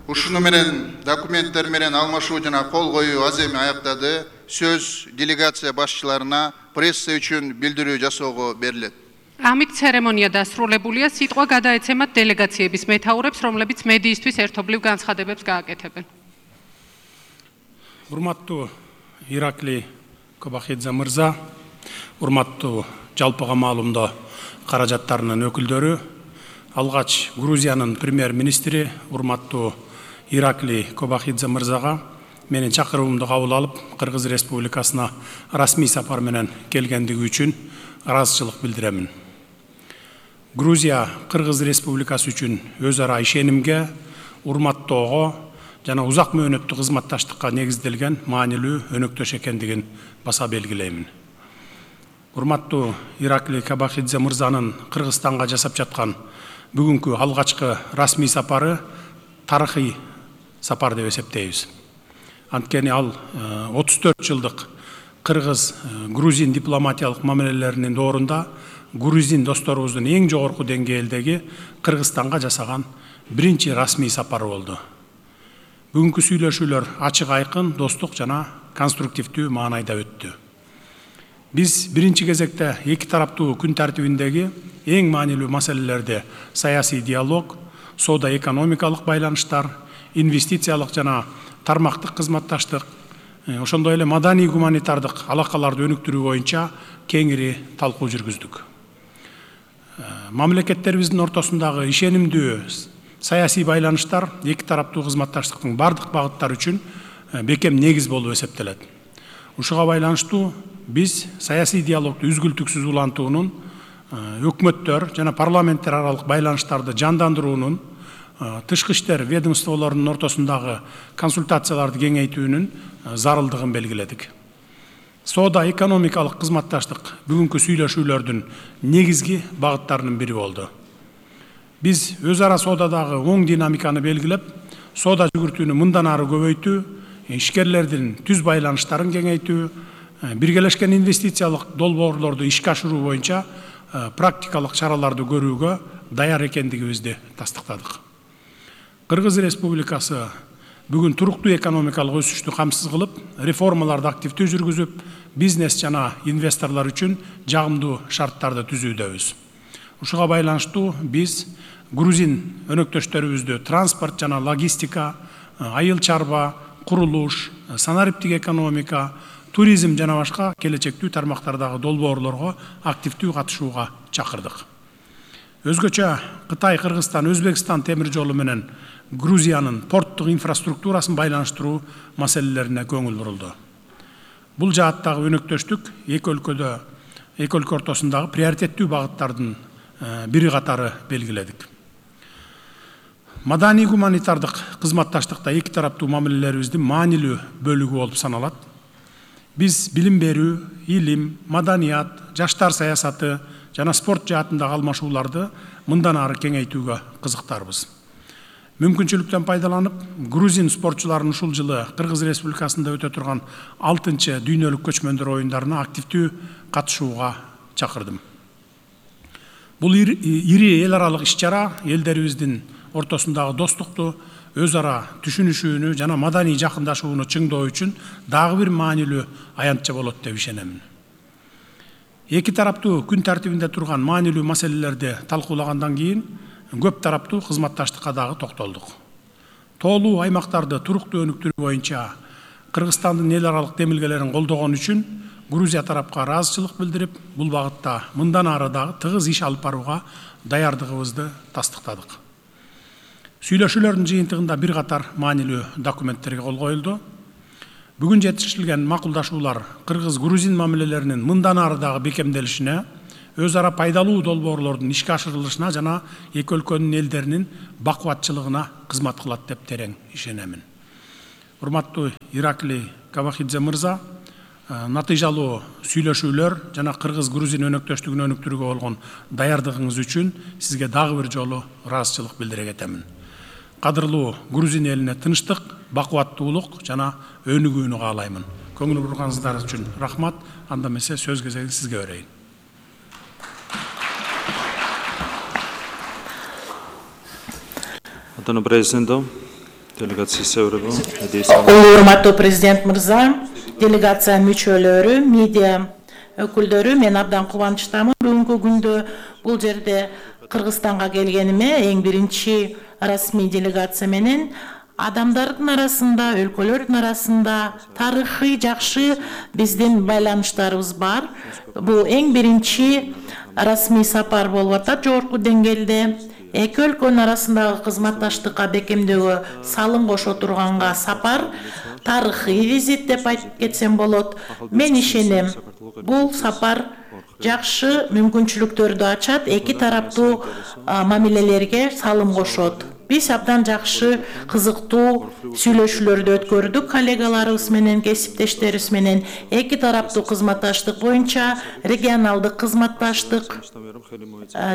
ушуну менен документтер менен алмашуу жана кол коюу аз эми аяктады. Сөз делегация башчыларына пресса үчүн билдирүү жасоого берилет. Ამით ცერემონია დასრულებულია. სიტყვა გადაეცემათ დელეგაციების მეთაურებს, რომლებიც მედიისთვის ერთობლივ განცხადებებს გააკეთებენ. Урматтуу Иракли Кобахидзе мырза, урматтуу жалпыга маалымдоо каражаттарынын өкүлдөрү, алгач Грузиянын премьер-министри урматтуу Иракли Кобахидзе мырзага менин чакыруумду кабыл алып, Кыргыз Республикасына расмий сапар менен келгендиги үчүн ыраазычылык билдиремин. Грузия Кыргыз Республикасы үчүн өз ара ишенимге, урматтоого жана узак мөөнөттүү кызматташтыкка негизделген маанилүү өнөктөш экендигин баса белгилеймин. Урматтуу Иракли Кобахидзе мырзанын Кыргызстанга жасап жаткан бүгүнкү алгачкы расмий сапары тарыхый сапар деп эсептейбиз. Анткени ал 34 жылдык Кыргыз-Грузин дипломатиялык мамилелеринин доорунда грузин досторубуздун эң жогорку деңгээлдеги Кыргызстанга жасаган биринчи расмий сапары болду. Бүгүнкү сүйлөшүүлөр ачык айкын, достук жана конструктивдүү маанайда өттү. Биз биринчи кезекте эки тараптуу күн тартибиндеги эң маанилүү маселелерди саясий диалог, соода-экономикалык байланыштар, инвестициялык жана тармактык кызматташтык, ошондой эле маданий гуманитардык алакаларды өнүктүрүү боюнча кеңири талкуу жүргүздүк. Мамлекеттерибиздин ортосундагы ишенимдүү саясий байланыштар эки тараптуу кызматташтыктын бардык багыттары үчүн бекем негиз болуп эсептелет. Ушуга байланыштуу биз саясий диалогду үзгүлтүксүз улантуунун, өкмөттөр жана парламенттер аралык байланыштарды жандандыруунун, тышкы иштер ведомстволорунун ортосундагы консультацияларды кеңейтүүнүн зарылдыгын белгиледик. Соода-экономикалык кызматташтык бүгүнкү сүйлөшүүлөрдүн негизги багыттарынын бири болду. Биз өз ара соодадагы оң динамиканы белгилеп, соода жүгүртүүнү мындан ары көбөйтүү, ишкерлердин түз байланыштарын кеңейтүү, биргелешкен инвестициялык долбоорлорду ишке ашыруу боюнча практикалык чараларды көрүүгө даяр экендигибизди тастыктадык. Кыргыз Республикасы бүгүн туруктуу экономикалык өсүштү камсыз кылып, реформаларды активдүү жүргүзүп, бизнес жана инвесторлор үчүн жагымдуу шарттарды түзүүдөбүз. Ушуга байланыштуу биз грузин өнөктөштөрүбүздү транспорт жана логистика, айыл чарба, курулуш, санариптик экономика, туризм жана башка келечектүү тармактардагы долбоорлорго активдүү катышууга чакырдык. Өзгөчө Кытай, Кыргызстан, Өзбекстан темир жолу менен Грузиянын порттук инфраструктурасын байланыштыруу маселелерине көңүл бурулду. Бул жааттагы өнөктөштүк эки өлкө ортосундагы приоритеттүү багыттардын бири катары белгиледик. Маданий гуманитардык кызматташтыкта эки тараптуу мамилелерибиздин маанилүү бөлүгү болуп саналат. Биз билим берүү, илим, маданият, жаштар саясаты жана спорт жаатындагы алмашууларды мындан ары кеңейтүүгө кызыктарбыз. Мүмкүнчүлүктөн пайдаланып, грузин спортчуларын ушул жылы Кыргыз Республикасында өтө турган 6-чы дүйнөлүк көчмөндөр оюндарына активдүү катышууга чакырдым. Бул ири эл аралык иш-чара элдерибиздин ортосундагы достукту, өз ара түшүнүшүүнү жана маданий жакындашууну чыңдоо үчүн дагы бир маанилүү аянтча болот деп ишенемин. Эки тараптуу күн тартибинде турган маанилүү маселелерди талкуулагандан кийин көп тараптуу кызматташтыкка дагы токтолдук. Тоолуу аймактарды туруктуу өнүктүрүү боюнча Кыргызстандын эл аралык демилгелерин колдогон үчүн Грузия тарапка ыраазычылык билдирип, бул багытта мындан ары дагы тыгыз иш алып барууга даярдыгыбызды тастыктадык. Сүйлөшүүлөрдүн жыйынтыгында бир катар маанилүү документтерге кол коюлду. Бүгүн жетишилген макулдашуулар Кыргыз-Грузин мамилелеринин мындан ары дагы бекемделишине, өз ара пайдалуу долбоорлордун ишке ашырылышына жана эки өлкөнүн элдеринин бакубатчылыгына кызмат кылат деп терең ишенемин. Урматтуу Иракли Кобахидзе мырза, натыйжалуу сүйлөшүүлөр жана Кыргыз-Грузин өнөктөштүгүн өнүктүрүүгө болгон даярдыгыңыз үчүн сизге дагы бир жолу ыраазычылык билдире кетемин. Кадырлуу Грузин элине тынчтык, бакубаттуулук жана өнүгүүнү каалаймын. Көңүл бурганыңыздар үчүн рахмат. Анда эмесе сөз кезегин сизге берейин. Антонио Президенто, Урматтуу президент мырза, делегация мүчөлөрү, медиа өкүлдөрү, мен абдан кубанычтамын. Бүгүнкү күндө бул жерде Кыргызстанга келгениме эң биринчи расмий делегация менен адамдардын арасында, өлкөлөрдүн арасында тарыхый жакшы биздин байланыштарыбыз бар. Бул эң биринчи расмий сапар болуп атат жогорку деңгээлде. Эки өлкөнүн арасындагы кызматташтыкка бекемдөөгө салым кошо турганга сапар, тарыхый визит деп айтып кетсем болот. Мен ишенем, бул сапар жакшы мүмкүнчүлүктөрдү ачат, эки тараптуу мамилелерге салым кошот. Биз абдан жакшы, кызыктуу сүйлөшүүлөрдү өткөрдүк коллегаларыбыз менен, кесиптештерибиз менен. Эки тараптуу кызматташтык боюнча регионалдык кызматташтык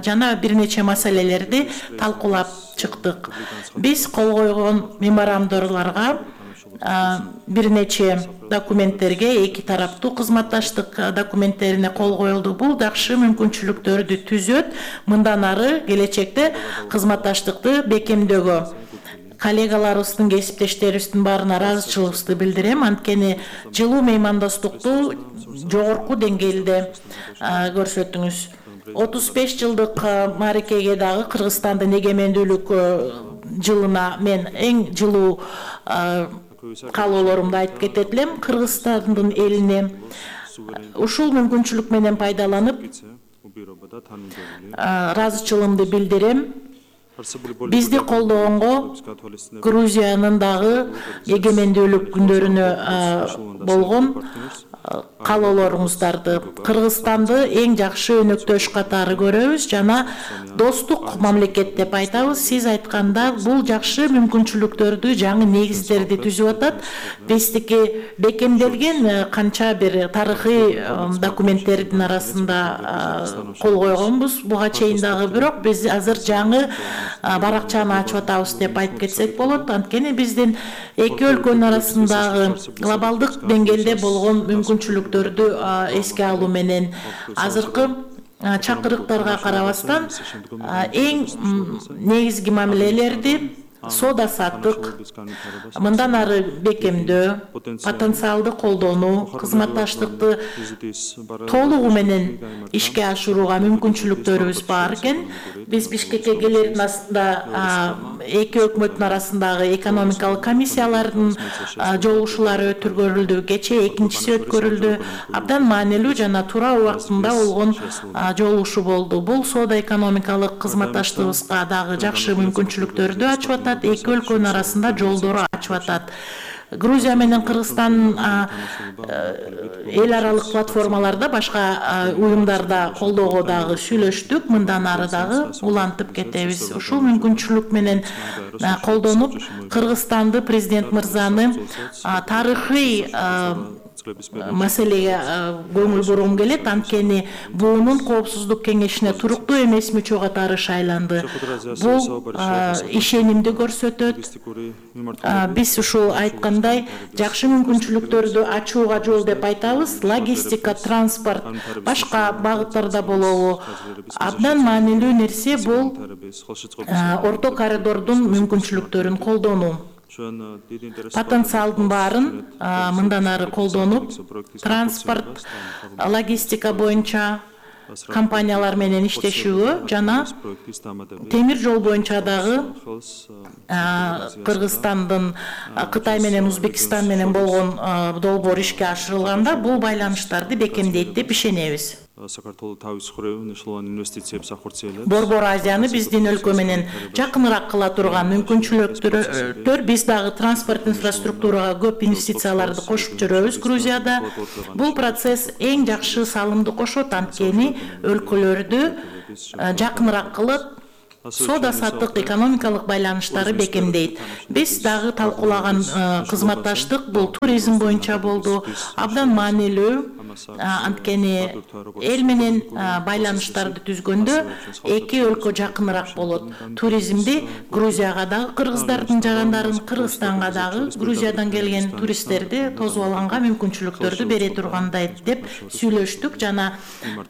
жана бир нече маселелерди талкуулап чыктык. Биз кол койгон меморандумдарга, бир нече документтерге, эки тараптуу кызматташтык документтерине кол коюлду. Бул жакшы мүмкүнчүлүктөрдү түзөт, мындан ары келечекте кызматташтыкты бекемдөөгө. Коллегаларыбыздын, кесиптештерибиздин баарына ыраазычылыгыбызды билдирем. Анткени жылуу меймандостукту жогорку деңгээлде көрсөттүңүз. 35 жылдык мааракеге дагы Кыргызстандын эгемендүүлүк жылына мен эң жылуу каалоолорумду айтып кетет элем. Кыргызстандын элине ушул мүмкүнчүлүк менен пайдаланып ыраазычылыгымды билдирем. Бизди колдогонго, Грузиянын дагы эгемендүүлүк күндөрүнө болгон каалоолоруңуздарды, Кыргызстанды эң жакшы өнөктөш катары көрөбүз жана достук мамлекет деп айтабыз. Сиз айтканда бул жакшы мүмкүнчүлүктөрдү, жаңы негиздерди түзүп атат. Биздики бекемделген канча бир тарыхый документтердин арасында кол койгонбуз буга чейин дагы, бирок биз азыр жаңы баракчаны ачып атабыз деп айтып кетсек болот. Анткени биздин эки өлкөнүн арасындагы глобалдык деңгээлде болгон мүмкүнчүлүктөрдү эске алуу менен азыркы чакырыктарга карабастан эң негизги мамилелерди соода саттык, мындан ары бекемдөө, потенциалды колдонуу, кызматташтыкты толугу менен ишке ашырууга мүмкүнчүлүктөрүбүз бар экен. Биз Бишкекке келердин астында эки өкмөттүн арасындагы экономикалык комиссиялардын жолугушуулары өткөрүлдү. Кечээ экинчиси өткөрүлдү. Абдан маанилүү жана туура убактында болгон жолугушуу болду. Бул соода экономикалык кызматташтыгыбызга дагы жакшы мүмкүнчүлүктөрдү ачып атат. Эки өлкөнүн арасында жолдору ачып атат. Грузия менен Кыргызстан эл аралык платформаларда, башка уюмдарда колдоого дагы сүйлөштүк. Мындан ары дагы улантып кетебиз. Ушул мүмкүнчүлүк менен колдонуп, Кыргызстанды, президент мырзаны тарыхый маселеге көңүл бургум келет. Анткени буунун коопсуздук кеңешине туруктуу эмес мүчө катары шайланды. Бул ишенимди көрсөтөт. Биз ушул айткандай жакшы мүмкүнчүлүктөрдү ачууга жол деп айтабыз. Логистика, транспорт, башка багыттарда болобу. Абдан маанилүү нерсе бул орто коридордун мүмкүнчүлүктөрүн колдонуу. Потенциалдын баарын мындан ары колдонуп, транспорт, логистика боюнча компаниялар менен иштешүүгө жана темир жол боюнча дагы Кыргызстандын Кытай менен Узбекистан менен болгон долбоор ишке ашырылганда бул байланыштарды бекемдейт деп ишенебиз. Борбор Азияны биздин өлкө менен жакыныраак кыла турган мүмкүнчүлүктөр, биз дагы транспорт инфраструктурага көп инвестицияларды кошуп жүрөбүз Грузияда. Бул процесс эң жакшы салымды кошот, анткени өлкөлөрдү жакыныраак кылып, соода саттык, экономикалык байланыштары бекемдейт. Биз дагы талкуулаган кызматташтык бул туризм боюнча болду. Абдан маанилүү. анткени эл менен байланыштарды түзгөндө эки өлкө жакыныраак болот. Туризмди Грузияга дагы кыргыздардын жарандарын, Кыргызстанга дагы Грузиядан келген туристтерди тосуп алганга мүмкүнчүлүктөрдү бере тургандай деп сүйлөштүк. Жана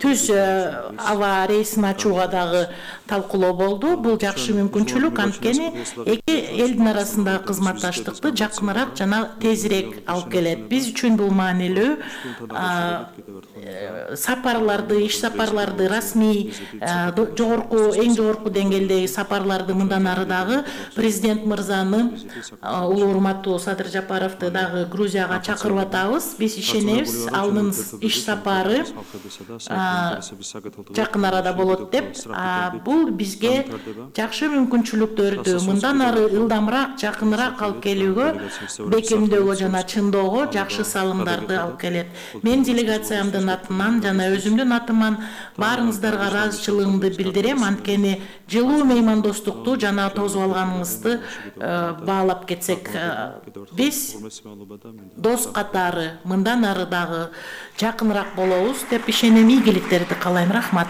түз аба рейсин ачууга дагы талкуулоо болду. Бул жакшы мүмкүнчүлүк, анткени эки элдин арасындагы кызматташтыкты жакыныраак жана тезирээк алып келет. Биз үчүн бул маанилүү. Сапарларды, иш сапарларды, расмий эң жогорку деңгээлдеги сапарларды мындан ары дагы президент мырзаны, улуу урматтуу Садыр Жапаровду дагы Грузияга чакырып атабыз. Биз ишенебиз, анын иш сапары жакын арада болот деп. Бул бизге жакшы мүмкүнчүлүктөрдү мындан ары ылдамыраак, жакыныраак алып келүүгө, бекемдөөгө жана чыңдоого жакшы салымдарды алып келет. Мен делегациямдын атынан жана өзүмдүн атыман баарыңыздарга ыраазычылыгымды билдирем, анткени жылуу меймандостукту жана тосуп алганыңызды баалап кетсек, биз дос катары мындан ары дагы жакыныраак болобуз деп ишенем. Ийгиликтерди каалайм. Рахмат.